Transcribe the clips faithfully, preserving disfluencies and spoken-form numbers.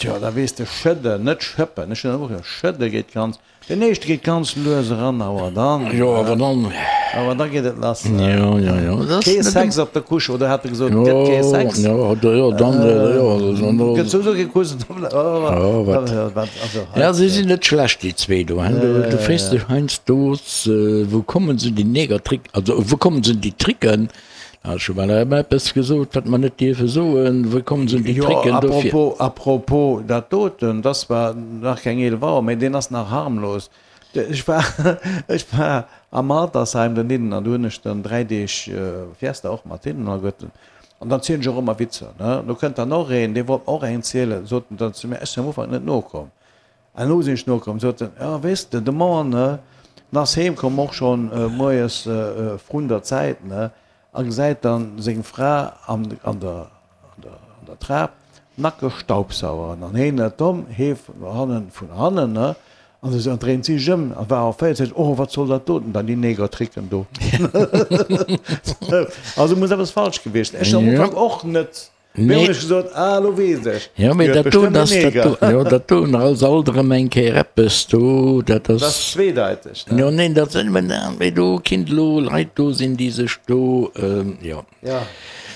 Tjo, da weess de, schëdden, net schëppen, ech hunn dat och gesot, schëdde geet ganz, den éischte geet ganz lues eran, awer dann, Jo, awer dann. Awer da geet et lass. Jo, jo, jo. Dat Kee Sex op der Couche, oder hat e gesot, et gëtt kee Sex? Jo, jo, jo, dann, jo, dann. Gëtt souwisou kee Kuss. Jo, wat? Ja, si sinn net schlecht, déi zwee do, hein. Du frees dech heiansdo, wou kommen se déi Negertrick, also wou kommen se déi Tricken? Ech hu bal eppes gesot, wat mer net dierfe soen. Wou kommen se un déi Tricken dofir? Jo, à propos, à propos dat doten, dat ass zwar nach keng eelef Auer, mä deen ass nach harmlos. Ech war, ech war am Altersheim dohinnen an do hunn ech dann dräi Deeg Fiesta och mat hinnen alleguerten. An dann zielen ech och ëmmer Witzer, ne. Do kënnt dann och een, dee wollt mer och eng zielen, sot en dann zu mir, ech sinn am Ufank net nokomm. An elo sinn ech nokomm, sot en, jo, weess de, de Moien, ne, en ass heemkomm och schonn moies vrun der Zäit, ne, a gesäit dann seng Fra an an der an der an der Trap nackeg staubsauern an heen net domm, hee vun hannen vun hannen, ne, an esou an dréint si sech ëm a war erféiert, seet, oh wat soll dat doten dann, déi Negertricken do. Also muss eppes falsch gewiescht sinn. Ech am Ufank och net. Mee hunn ech gesot, ah elo weess ech, Jo, mee déi huet dat do, bestëmmt en dat dat Neger. do, jo, dat do ass alt erëm eng Kéier eppes do, dat Dat ass ass, zweedeiteg, ne? jo, neen, dat sinn, mee do kinnt elo Leit do sinn, déi sech do, jo. Ja,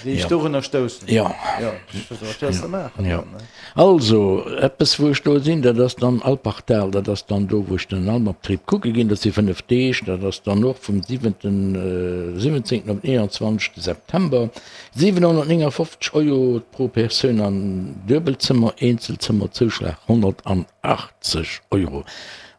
déi sech Jo. dorunner stoussen. Jo. Jo, wat wëlls de maachen Jo. dann, ne? Also, eppes wou ech do sinn, dat ass dann Alpbachtal, dat ass dann do, wou ech den Almabtrieb kucke ginn, dat si fënnef Deeg, dat ass dann och vum siwenten, siwwenzéngten op den eenanzwanzegste September. siwenhonnertnéngafofzeg Euro pro Persoun an Duebelzëmmer, Eenzelzëmmerzouschlag honnertachtzeg Euro.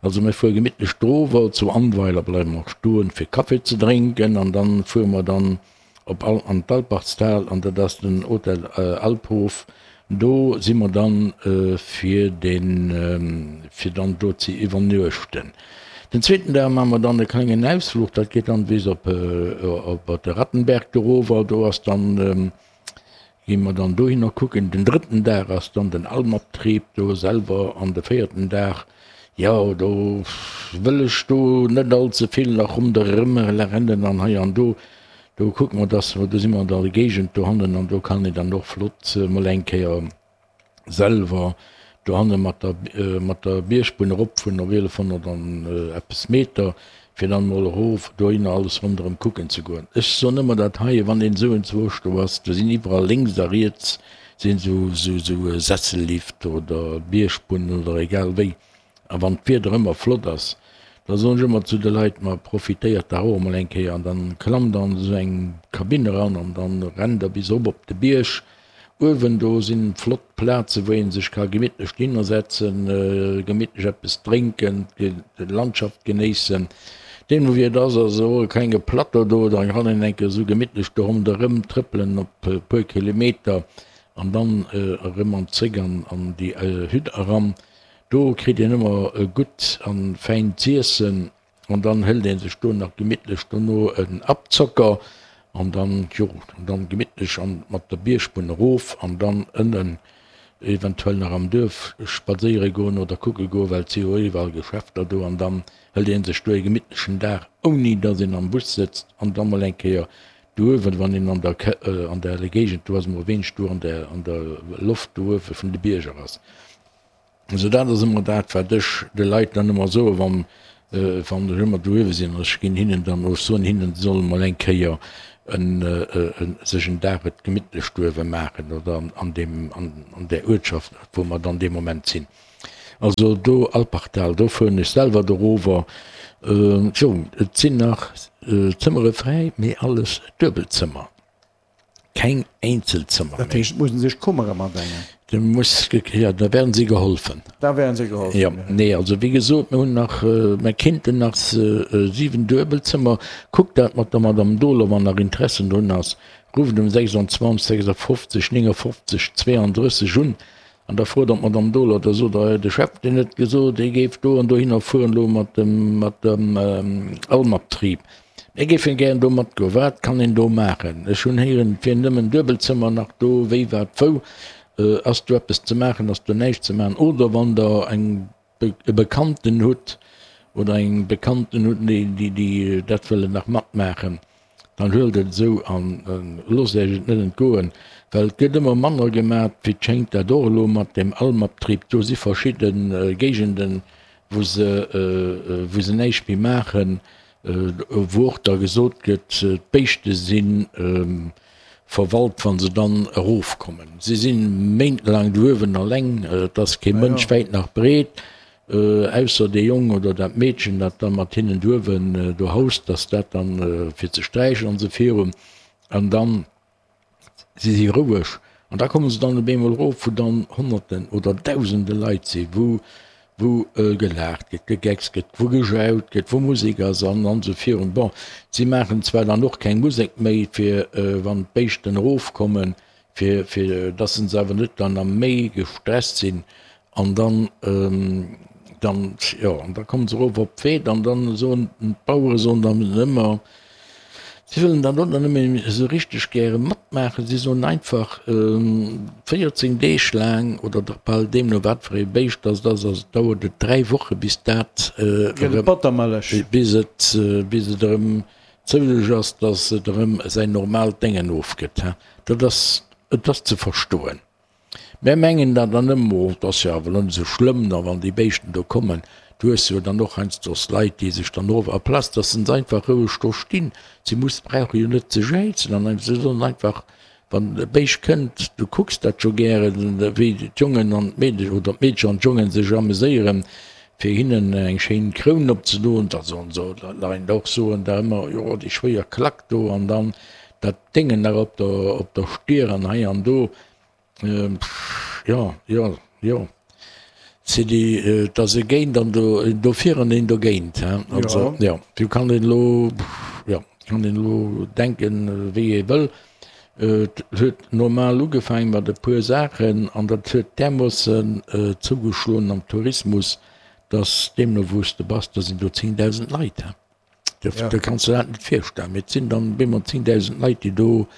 Also mir fuere gemittlech drower, zu Annweiler bleiwe mer stoen fir Café ze drénken an dann fuere mer dann op an d'Alpbachstal an dat ass den Hotel Alphof. Do si mer dann fir den fir dann do ze iwwernuechten. Den zweeten Dag maache mer dann e klengen Ausfluch, dat geet dann bis op op de Rattenberg dorower, do ass dann, gi mer dann dohinner kucken. Den drëtten Dag ass dann den Almabtrieb do selwer an de véierten Dag, jo do wëll ech do net all ze vill nach ronderëm rennen an hei an do, do kucke mer, dass mer, do si mer an der Géigend dohannen an do kann een dann och flott mol eng Kéier selwer dohanne mat der mat der Biergbunn erop vun op eelefhonnert an eppes Meter, fir dann emol erof dohinner alles ronderëm kucken ze goen. Ech soen ëmmer dat heie, wann een esou enzwousch do ass, do sinn iwwerall lénks a riets sinn esou esou Sessellift oder Biergbunn oder egal wéi. A wann d'Wieder ëmmer flott ass, da soen ech ëmmer zu de Leit, ma profitéiert dach och emol eng Kéier an dann klammt an esou eng Kabinn eran an dann rennt der bis erop op de Bierg. Uewen do sinn flott Plazen, wou een sech ka gemittlech dohinner setzen, gemittlech eppes drénken, d'Landschaft genéissen. Deemno wéi et ass, ass och e klenge Plateau do, da kann een eng Kéier esou gemittlech do ronderëm trëppelen op e puer Kilometer an dann erëm an zréck an déi Hütt eran. Do kritt een ëmmer gutt an fäin z'iessen. An dann hëlt een sech do nach gemittlech dono en Abzocker an dann, jo, an dann gemittlech an mat der Biergbunn erof an dann ënnen eventuell nach am Duerf spadséiere goen oder kucke goen, well et si jo iwwerall Geschäfter do an dann hëlt een sech do e gemittlechen Dag ouni dass een am Bus sëtzt an da mol eng Kéier do uewen, wann een an der an der Géigend do ass, mol e wéineg do an der an der Loft do uewe vun de Bierger ass. Also dat ass ëmmer dat, wat ech de Leit dann ëmmer soen, wann, wann ech ëmmer do uewe sinn. Ech ginn hinnen dann, ech soen hinnen, se solle mol eng Kéier en, sech en Dag et gemittlech do uewe maachen oder an deem, an där Uertschaft, wou mer dann dee Moment sinn. Also do Alpbachtal, do fueren ech selwer dorower. Jo, et sinn nach Zëmmere fräi, mee alles Duebelzëmmer. Keng Einzelzëmmer Dat méi. heescht, et mussen sech Kummere matdengen. Da muss, jo, da werden si geholfen. Da werden se geholfen, Jo, jo. nee, also wéi gesot, mir hunn nach, mir kéinten nach siwen Duebelzëmmer. Kuckt dat mat der Madame Dohler, wann nach Interessen drun ass. Rufft um sechsundzwanzeg sechsundfünfzig neunundfünfzig zweiunddrësseg un an da frot der d'Madame Dohler, da sot der, de Chef, deen huet gesot, hie géif do an dohinner fueren elo mat dem, mat dem Almabtrieb. Mir géifen gären do matgoen. Wat kann een do maachen? Ech hunn héieren, et wier nëmmen Duebelzëmmer nach do. Wéi, wat, wou? Ass do eppes ze maachen? Ass do näischt ze maachen? Oder wann Der eng, e Bekannten hutt oder eng Bekannten hutt, déi, déi dat wëllen nach matmaachen, dann huelt et esou a loosst Iech et net entgoen. Well et gëtt ëmmer manner gemat, wéi et schéngt, dat och elo mat deem Almabtrieb. Do si verschidde Géigenden, wou se, wou se näischt méi maachen, wou och da gesot gëtt, d'Béischte si verwalt, wa se dann erofkommen. Si si méintelaang do uewen alleng, et ass kee Mënsch wäit nach breet, ausser dee Jong oder dat Meedchen, dat da mat hinnen do uewen do haust, dass dat dann fir ze sträichen an esou virun. An dann Si si roueg an da komme se dann op eemol erof, wou dann Honnerten oder Dausende Leit sinn, wou, wou gelaacht gëtt, gegeckst gëtt, wou gejaut gëtt, wou Musek ass an an esou virun. Bon, si maachen zwar dann och keng Musek méi, fir wann d'Béischten erofkommen, fir, fir dass se awer net dann nach méi gestresst sinn an dann, dann, jo, an da komme se erof op d'Weed an dann soen d'Bauere soen dann ëmmer, Si wëllen dann och net méi esou richteg gäre matmaachen. Si soen einfach, véierzéng Deeg laang oder dach bal, deemno wat fir ee Béischt dass et ass, also dauert et dräi Woche bis dat erëm, bis et, bis et erëm zouleg ass, dass et erëm säin normaalt Déngen ofgëtt. Dat ass, et ass ze verstoen. Mär mengen dat dann ëmmer, oh, 't ass jo awer elo net esou schlëmm, da wann déi Béischten do kommen. Du hues jo dann och heiansdo Leit, déi sech dann of, aplaz dass se einfach roueg do stinn, si muss, brauche jo net ze jäizen an si sollen einfach, wann e Béischt kënnt, du kucks dat jo gären, wéi d'Jongen an d'Meedecher oder d'Meedcher an d'Jongen sech ameséieren, fir hinnen eng schéin Kroun opzedoen, da sollen se nach een och soen da ëmmer, jo, déi schwéier Klack do an dann dat Déngen nach op der, op der Stier an hei an do. Jo, jo, jo. C'est déi, et ass e géint an do, een dofir an een dogéint, hein. Also, jo, do kann een elo, jo, kann een elo denken, wéi ee wëll. Et huet normal ugefaangen mat e puer Saachen an dat huet därmoossen zougeschloen am Tourismus, dass deemno wou s de bass, do sinn do zéngdausend Leit, hein. Da kanns de dat net virstellen. Mee et sinn dann op eemol zéngdausend Leit, déi do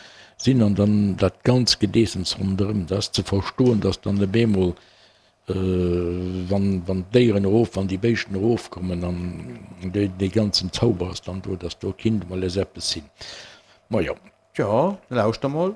sinn an dann dat ganz Gedeessems ronderëm. Dat ass ze verstoen, datt dann op eemol, wann, wann d'Déieren erof, wann déi Béischten erofkommen an dee, dee ganzen Zauber ass dann do, datt do kinnt emol es eppes sinn. Majo. Tjo, lauschter mol.